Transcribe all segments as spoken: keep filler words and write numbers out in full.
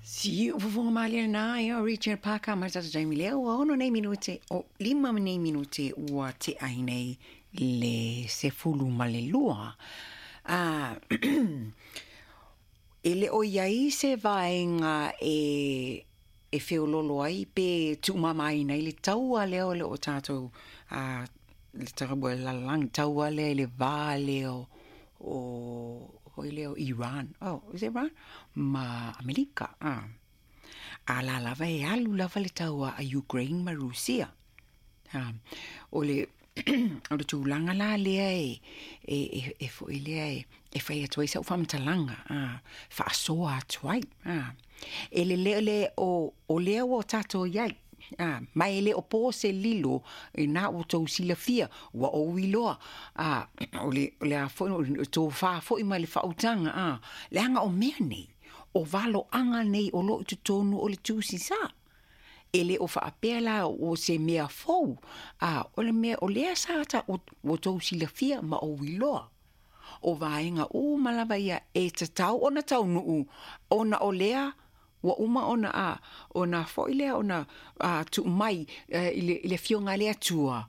Siufofoga malie lena ia o Richard Parker ma le tatou taimi lea ua ono nei minute o lima ma nei minute ua tea ai nei le sefulu ma le lua. Ah, e le o i ai se vaega e e feololo ai pe tuumamaina ai le taua lea o le o tatou a le taua lalolagi taua lea i le va lea o o foi lea o Iran, oh, is it Iran? Ma Amerika, ah. A la lava e alu lava le taua a Ukraine ma Rusia. Ah, o le o le tulaga la lea e e e, e foi lea e e fai atu ai sau faamatalaga, ah, faasoa atu ai, ah. E le lea le o o lea ua tatou i ai, ah, ma e le o po se lilo i na ua tou silafia ua ou iloa, ah, o le o le a foi o le tofā foi ma le faautaga, ah, leaga o mea nei o valoaga nei o loo i totonu o le tusi sa. E le o faapea la o se mea fou, a o le mea o lea sa ta ua tou silafia ma ou iloa. O vaega uma lava ia e tatau ona taunuu ona o lea ua uma ona a ona foi lea ona a tuu mai i le, i le afioga a le Atua,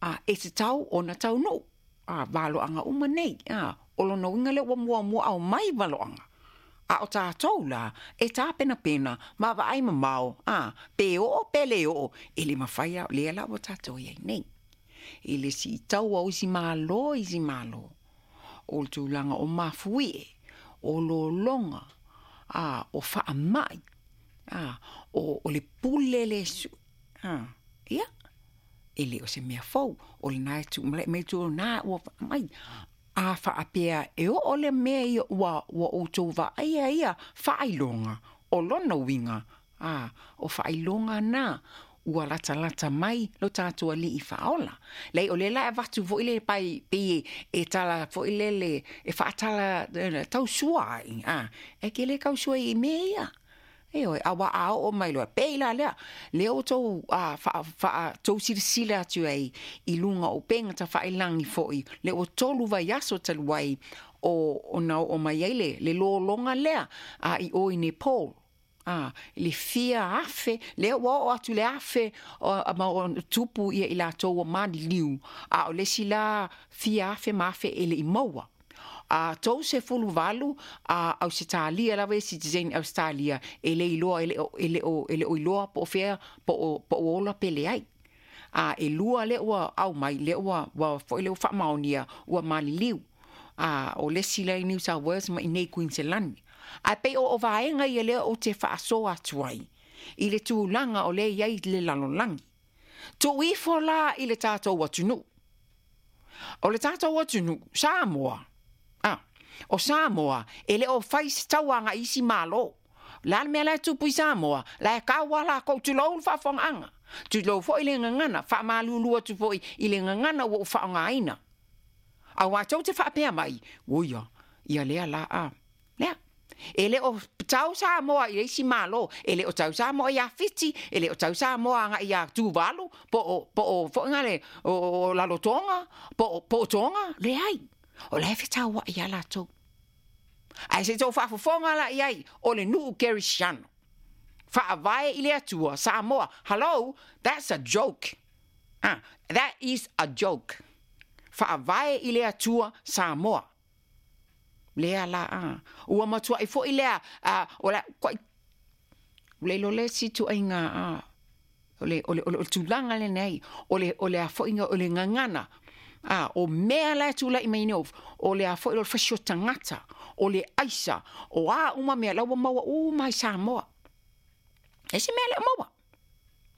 a e tatau ona taunuu a valoaga uma nei, a o lona uiga lea ua muamua aumai valoaga. A o tatou la e tapenapena ma vaai mamao, a pe oo pe le oo e le mafai a lea la ua tatou i ai nei. I le siitaua o isi malo isi malo o le tulaga o mafuie o lologa, a o faamai, a o, o le pule le su, a ia e le o se mea fou o lena e tu mai tu na ua mai a faapea e oo le mea ia ua ua outou vaaia ia faailoga o lona uiga, a o faailoga na ua latalata mai lo tatou alii faaola. Leai o lea la e avatu foi le pai pei e tala foi lele e faatala tausua ai, a e ke le kausua i mea ia. Ioe, aua a oo mai loa pei la lea lea ua tou a faa faa tou silasila atu ai i luga o upega tafailagi foi lea ua tolu vaiaso talu ai o ona oo mai ai le le lologa lea a i o i Nepal, a le fia afe lea ua oo atu le afe o, ma o tupu ia i latou ua maliliu, a o le isi la fia afe ma afe e le i maua a tou sefulu valu a Ausetalia lava e citizen Australia e le iloa e le o e le o e le o iloa po o fea po o po o ola pe leai. A e lua lea ua au mai lea ua ua foi lea ua faamaonia ua maliliu, a o le isi la i New South Wales ma i nei Queensland. Ae pei o o vaega ia lea ou te faasoa atu ai i le tulaga o lea i ai le lalolagi. Tuu ifo la i le tatou atunuu. O le tatou atunuu Samoa, a o Samoa e le o fai se tauaga i isi malo. La le mea la e tupu i Samoa, la e kaua lakou tulou le faafofogaaga. Tulou foi le gagana, faamalulu atu foi i le gagana ua ou faaaogaina. Auā tou te faapea mai, oia, ia lea la a. Lea. E le o tau Samoa i le isi malo, e le o tau Samoa ia Fiti, e le o tau Samoa agai ia Tuvalu, po o, po o foi ngale o, o Lalotonga, po o, po o Tonga, leai. O la e fetauai ia latou. Ae se tou faafofoga la i ai, o le nuu kerisiano. Faavae i le Atua, Samoa. Hello, that's a joke. Ah, that is a joke. Faavae i le Atua, Samoa. Lea la, ah. Ua matuai foi lea, ah, o la, koi, le lo le si tuaiga, ah, o le, o le, o le, o le tulaga lenei, o le, o le a foiga, o le gagana, ah, o mea la e tulai mai nei, o le a foi o le fasi o tagata, o le aisa, o a uma mea, la ua maua uma i Samoa. E se mea le o maua.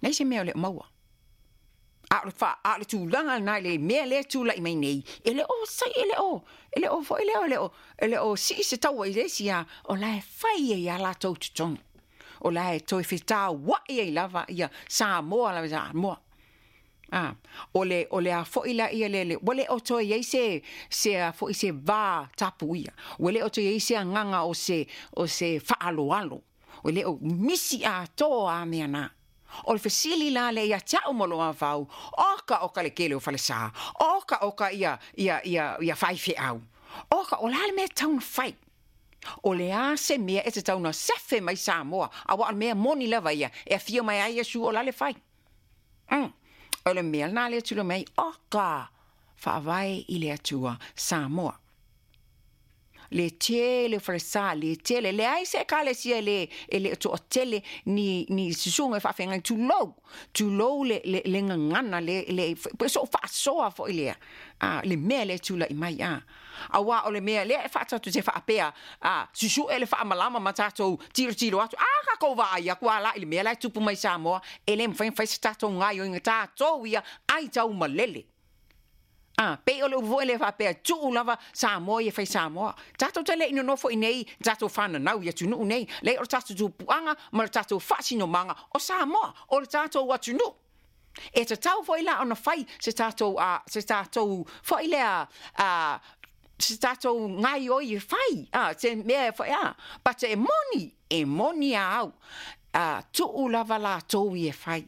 Nei se mea le o maua. A o le fa a o le tulaga lena i le mea lea e tulai mai nei, e le o sai e le o e le o foi lea o le o e le o sii se taua i le isi a o la e fai ai ia latou totonu. O la e toe fetauai ai lava ia Samoa lava Samoa. Ah, o le o le a foi la ia le le ua le o toe i ai se se a foi se va tapu ia. Ua le o toe i ai se agaga o se o se faaloalo. O le o misi atoa a mea na. O le fesili la le ia te au ma lou mafaufau, oka oka le kele o falesa, oka oka ia ia ia ia faifeau. Oka o la le mea e tatau ona fai. O le a se mea e te tauna sefe mai Samoa, a wa mea moni lava ia, e afio mai ai Iesu o la le fai. Mm. O le mea na le tula mai, oka, faavae i le Atua Samoa. Le tele falesa, le tele, le ai se ekalesia le, e le toa tele ni, ni susunga e faafeagai, tulou, tulou le, le, le gagana, le, le, pe so faasoa foi lea, ah, le mea le tula'i mai, ah. Auā o le mea lea e faatatou te faapea, ah, susu'e le faamalama ma tatou tilotilo atu, a tatou vaai atu a la i le mea la e tupu mai Samoa, e lē mafai ona fai se tatou gaioiga tatou ia ai tau malele. Ah, pei o le upu foi lea faapea, tuu lava Samoa ia fai Samoa. Tatou te le i nonofo i nei, tatou fananau i atunuu nei. Leai o le tatou tupuaga ma le tatou faasinomaga o Samoa, o le tatou atunuu. E tatau foi la ona fai se tatou, uh, se tatou foi lea, uh, se tatou gaioi e fai, ah, se mea e fai, ah, but e moni, e moni a au, uh, tuu lava latou ia e fai.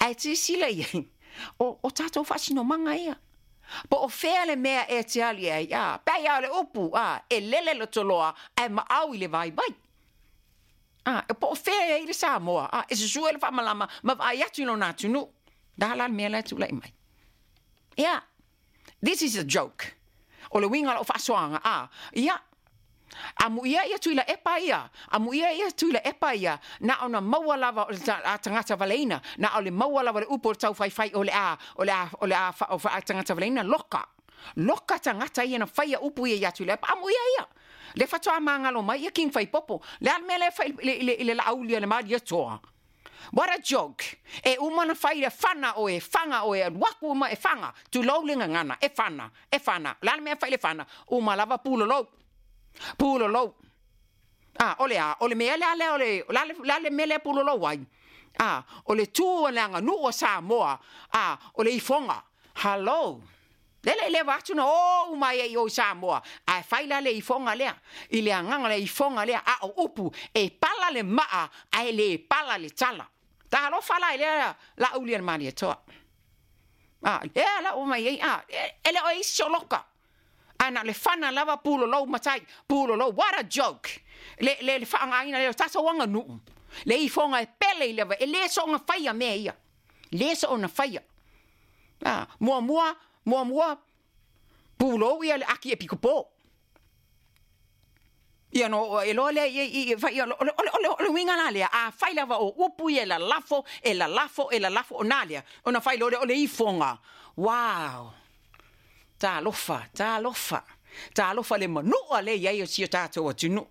Ae silasila i ai, o, o tatou faasinomaga ia. Po o fea le mea e te ali ai, a, pei a o le upu, a, e lele le toloa, ae maau i le vaivai. A, e po o fea e ai le Samoa, a, e susue le faamalama, ma vaai atu i lona atunuu. Da la le mea la e tulai mai. Ia, this is a joke. O le uiga o lau faasoaga, a, ia, amuia ia Tuilaepa ia, amuia ia Tuilaepa ia, na ona maua lava o le tagata valeina, na o le maua lava le upu o le taufaifai o le a, o le a, o le a fa, o fa, tagata valeina, loka. Loka tagata ia na faia upu ia ia Tuilaepa, amuia ia. Le faatoa magalo mai ia King Faipopo, le a le mea lea fai i le, i le laauli a le Malietoa. What a joke. E uma na fai le fana oe, faga oe, alu atu uma e faga, tulou le gagana, e fana, e fana. O le a le mea fai le fana, uma lava pulolou. Pulolou. Ah, o le a, o le mea lea lea o le, o le a le, le mea lea pulolou ai. Ah, o le tu o le aganuu a Samoa, ah, o le ifoga. Hello. Lele le atu na o uma ai i o Samoa. Ae fai la le ifoga lea. I le agaga le ifoga lea, a o upu, e pala le maa, ae le pala le tala. Talofa la i lea la uli a le Malietoa. Ah, lea la o mai ai, ah, e le o e isi soloka. Ae na le fana lava pulolou matai, pulolou, what a joke. Le, le, le faagaina le tatou aganuu. Le ifoga e pele i leva, e le soona faia mea ia. Le soona faia. Ah, muamua, muamua, pulou ia le aki e pikopo. Ia no, e loa lea, i, i, fai, o le, o le, o le, o le uiga la lea, a fai lava o upu ia e lalafo, e lalafo, e lalafo, o nā lea, ona fai loa lea o le ifoga. Wow! Talofa, talofa, talofa le manua le i ai o si o tatou atunuu.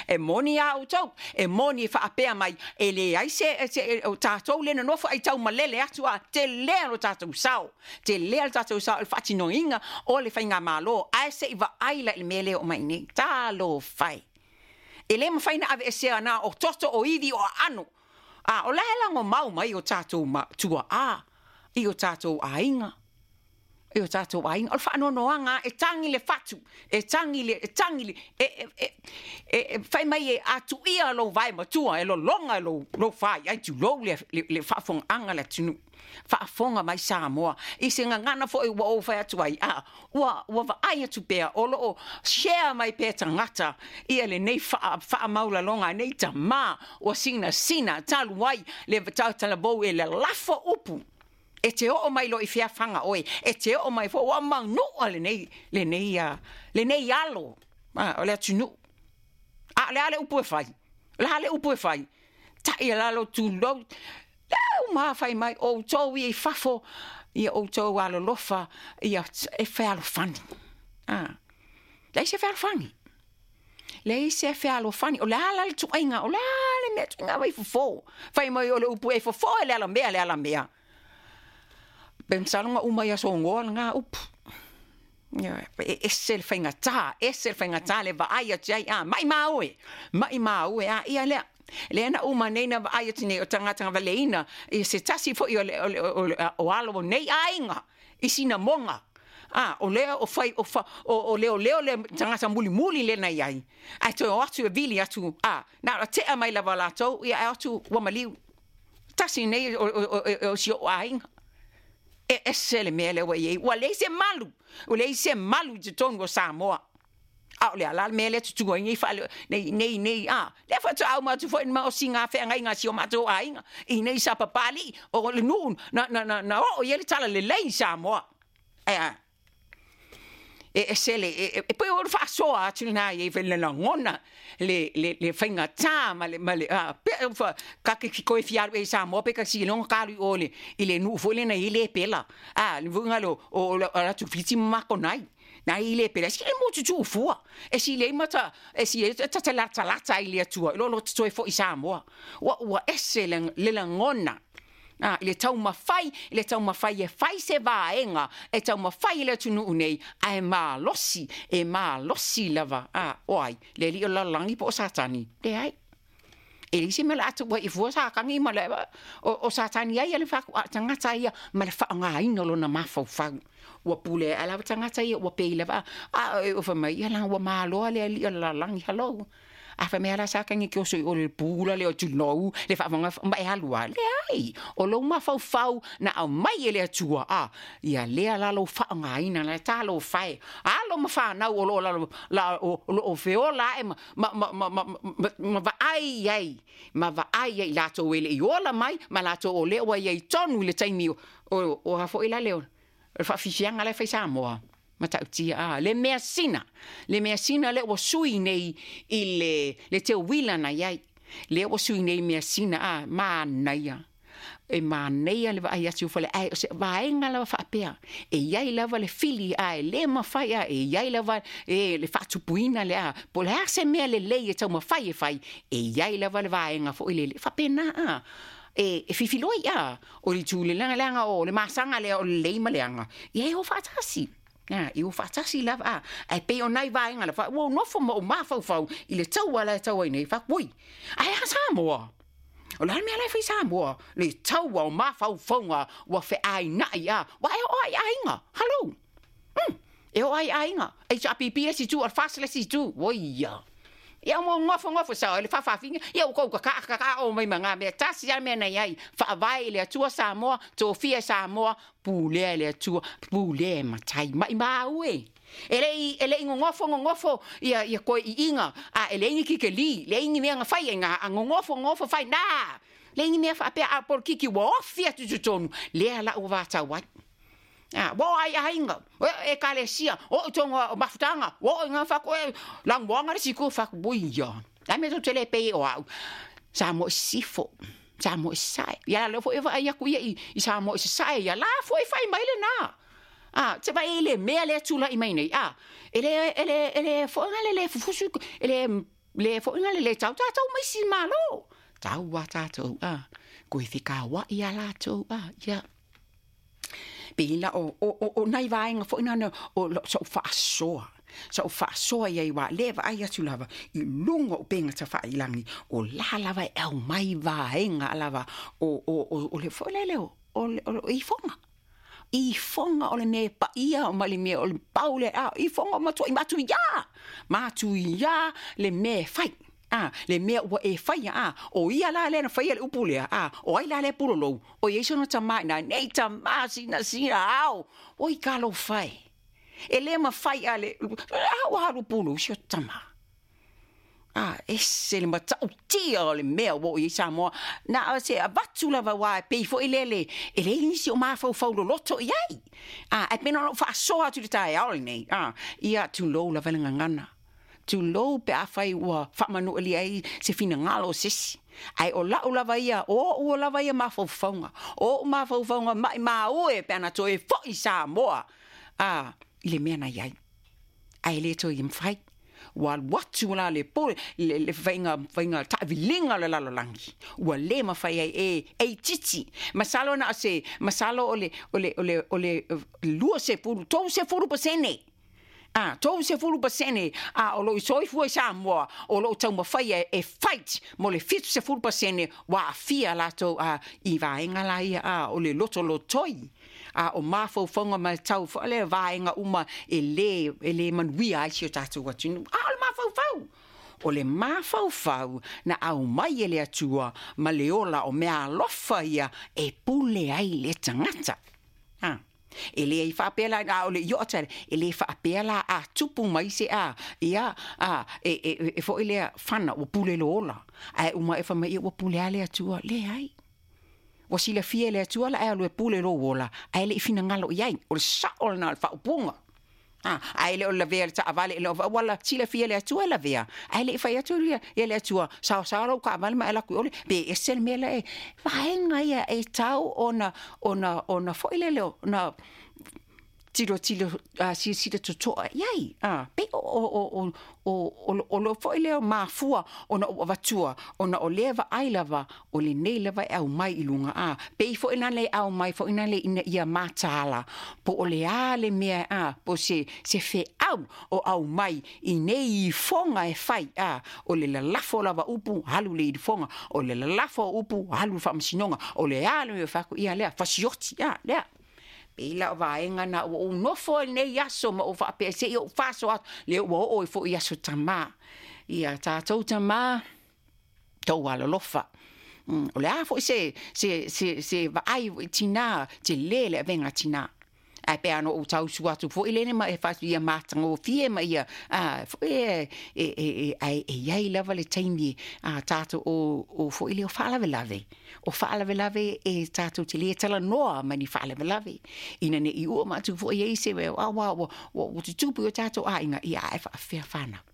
E moni a outou, e moni e faapea mai, e leai se, se o tatou le nonofo ai tau malele atu a, telē lo tatou sao, telē lo tatou sao, le faatinoina o le faigamalo, ae se i vaai la i le mea lea o mai nei. Talofa e. E le mafai na aveesea na o toto o ivi o aano. A, o la e lagomau mai o tatou ma, tuaa, i o tatou aiga. I o tatou aiga. O le faanoanoaga e tagi le fatu, e tagi le, e tagi le, e, e, e, e, e fai mai e atuia lou vae matua, e lologa lou, lou fai, ai tulou le, le, le faafogaaga le atunuu. Faafoga mai Samoa. I se gagana foi ua ou fai atu ai, a, ua, ua vaai atu pea, o loo share mai pea tagata, ia lenei faa, faamaualaloga, nei tamā, ua sinasina, talu ai, le tautalavou e lalafo upu. E te oo mai lo i fea faga oe, e te oo mai fo ua manua lenei, lenei, uh, lenei alo, ah, o le atunuu. A, le a le upu e fai, le a le upu e fai. Tai e lalo tulou, le uma fai mai, o outou ia i fafo, ia outou alolofa, ia e fealofani. Ah, leai se fealofani. Leai se fealofani. O le a la le tuaiga, o le a le mea tuaiga vai fofo. Fai mai o le upu e fofo e le alamea, le alamea. Pe masaloga uma ia sogoa lagā upu. Ia, e ese le faigatā, ese le faigatā le vaai atu ai, a, maimau e, maimau e, a, ia lea. Lea na uma nei na vaai atu nei o tagata valeina, i se tasi foi o le, o le, o, le, o alo o nei aiga, i sina moga. Ah, o lea o fai, o, fa, o, o leo leo le tagata mulimuli le na iai. Ae toe o atu e vili atu, ah, na o tea mai lava latou, ia e atu ua maliu. Tasi nei o, o, o, o si o aiga. E ese le mea lea ua i ai. Ua leai se malu, ua leai se malu i totonu o Samoa. A o le a la le mea lea tutu ai nei faale nei nei nei a lea faatoa uma atu foi ma osiga feagaiga a si o matou aiga i nei sa papali'i o le nuu na na na na oo i ai le talalelei i Samoa. Ae a e ese le e e pei o le faasoa atu lenā i ai foi le lagona le le le faigatā ma le ma le a pe fa ka ke koe fia alu ea i Samoa pe ka siloga ka alu i o le i le nuu foi lena i le pela a le vuga le o o atu Fiti ma Makonai na i le pela si le mo tutu fua e si le mata e si e ta lata lata i le Atua lo lo toe foi Samoa ua ua ese le le lagona a i le taumafai i le taumafai e fai se vaega e taumafai i le atunuu nei ae malosi e malosi lava a o ai le alii o le lalolagi po o Satani leai e leai se mea o le a tuu ai i fua sakagi ma le o, o Satani ai le faaku a tagata ia ma le faaaogaina o lona mafaufau ua pule ae lava tagata ia ua pei lava a o fai mai ia la ua maloa le alii o le lalolagi hello a fai mai la sakagi ke oso i o le pula le o tulou le faafofoga ma e alu a leai o lou mafaufau na aumai e le Atua a ia lea la lou faaaogaina la talofa e alo ma fanau o loo lalo la o loo feola ae ma ma ma ma ma ma ma vaai ai ma vaai ai latou e le i ola mai ma latou o lea ua i ai tonu i le taimi o o o a foi la le o le faafifiaga la e fai Samoa matautia a le measina le measina lea ua sui nei i le le teuila na i ai lea ua sui nei measina a manaia e manaia le vaai atu fale ae o se vaega lava faapea e i ai lava le fili ae le mafai a e i ai lava e le faatupuina le a po o le a se mea lelei e taumafai e fai e i ai lava le vaega foi lele faapena a e e fifiloi a o le itu le leaga leaga o le masaga lea o le lelei ma le aga ia e o faatasi a i o faatasi lava a ae pei o nai vaega la fa ua nofo ma ou mafaufau i le taua la e tau ai nei faaku oi ae a Samoa o le a le mea la e fai Samoa le taua o mafaufauga ua feaina'i a ua e oo ai aiga hello mm e oo ai aiga H R P P le isi itu o le FAST le isi itu oia ia mo gofogofo sao le faafaafina ia ua kou kaka'a kaka'a o mai ma gā mea tasi a mea na i ai faavae i le Atua Samoa tofia e Samoa pulea e le Atua pulea e matai maʻimau e e leʻi e leʻi gogofo gogofo ia ia koe iiga a e leai ni kikeli leai ni mea na fai ai ga a gogofo gogofo fai na leai ni mea faapea a polokiki ua ofi atu i totonu lea la ua vatau ai a ua oo ai aiga e ekalesia oo i totonu o mafutaga ua oo i ga faaku e lagoaga le siku faaku oia a mea tou te le pei o a'u Samoa i sisifo Samoa i sasae ia lea foi e vaai aku ia i, i Samoa i sasae ia la foi fai mai lenā a te vai le mea lea tula'i mai nei a e le e le e le foʻiga le le fufusu e le le foʻiga le le tau tatou ma isi malo tau a tatou a koe fekauaʻi a latou a ia pei la o o o, o nai vaega foi na o soʻu faasoa soʻu faasoa iai uā lē vaai atu lava i luga o upega tafailagi o la lava e aumai vaega lava o o o, o le foi lele o o le o ifoga ifoga o le mea e paia ma le mea o le pau le a ifoga o matuaʻi matuiā matuiā le mea e fai a le mea ua e faia a o ia la lea na faia le upu lea a o ai la lea pulolou o iai sona tamā ina nei tamā sina sina ao oi talofa e e lē mafai a le a ua alu pulou si o tamā a ese le matautia o le mea ua oo i ai Samoa na o se avatu lava uā e pei foi lea le e leai nisi o mafaufau loloto i ai a ae pei na ona ou faasoa atu i le taeao lenei a ia tulou lava le gagana tulou pe afai ua faamanualia ai se finagalo o se isi ae o la'u lava ia o o'u lava ia mafaufauga o o'u mafaufauga maʻimau e pe ana toe fo'i Samoa a i le mea na iai ae lē toe mafai ua alu atu la le po le, le faiga faiga taaviliga o le lalolagi ua lē mafai ai e e itiiti masalo na o se masalo o le o le o le o le lua sefulu tou sefulu pasene a tou sefulu pasene a o loo soifua i Samoa o loo taumafai e, e fight mo le fitu sefulu pasene ua aafia latou a i vaega la ia a o le lotolotoi a o mafaufauga ma tau le vaega uma e lē e lē manuia ai si o tatou atunuu a o le mafaufau o le mafaufau na aumai e le Atua ma le ola o mea alofa ia e pule ai le tagata a E le i faapea la a o le io'a tale e le faapea la a tupu mai se a ia a e e e fo'i lea fana ua pule lo ola ae uma e fai mai ua pule a le Atua. Leai, ua silafia e le Atua la e alu e pule lou ola ae le'i finagalo i ai. O le sa'o lena o le fa'aupuga a ae le o le lavea le ta'avale le ua la silafia e le Atua e lavea ae le'i fai atu ia ia le Atua saosao lou ka'avale ma e laku i ole pe ese le mea la e vaega ia e tau ona ona ona fo'i lele ona tilotilo uh, silasila toto'a iai a pe o o o o o o lo fo'i lea mafua ona ou avatua ona o lea vaai lava o lenei lava e aumai i luga a pei fo'i na le aumai fo'i na le ina ia mataala po o le a le mea a po se se fe'au o aumai i nei ifoga e fai a o le lalafo lava upu alu le ilifoga o le lalafo upu alu le faamasinoga o le a le mea fai ia lea fasioti a lea pei la o vaega na ua ou nofo ai lenei aso ma ou faapea se'i ou faaso atu lea ua oo ai fo'i aso tamā ia tatou tamā tou alolofa. Mm, o le a fo'i se se se se vaai tinā telē le avega tinā ae pe ana ou tausu atu fo'i lene ma e fa'atu ia matagofie ma ia a fo'i e e e e ai e iai lava le taimi a tatou o o fo'i le o fa'alavelave o fa'alavelave e tatou te lē talanoa ma ni fa'alavelave ina ne'i u'a ma atu fo'i ai se ua ua ua ua tutupu i o tatou āiga ia ae fa'afea fanau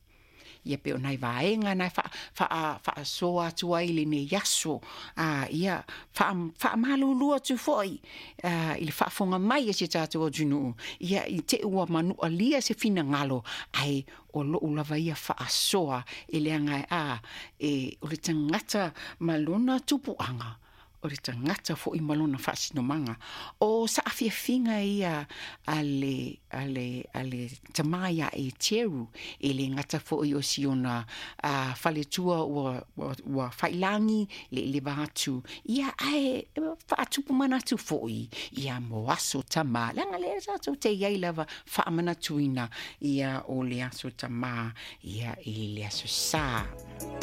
ia pe o nai vaega na fa fa faasoa atu ai lenei aso a ia faamalulu atu fo'i i le faafoga mai e si tatou atunuu ia i te'i ua manu'alia se finagalo ae o lo'u lava ia faasoa e leaga a e o le tagata ma lona tupu'aga o le tagata fo'i ma lona faasinomaga o sa'afiafiga ia a le a le a le tamā iā Eteru e lē gata fo'i o si ona a faletua ua ua, ua fa'ilagi le i le va atu ia ae fa'atupu manatu fo'i ia mo aso tamā leaga lea tatou te iai lava fa'amanatuina ia o le aso tamā ia i le aso sā.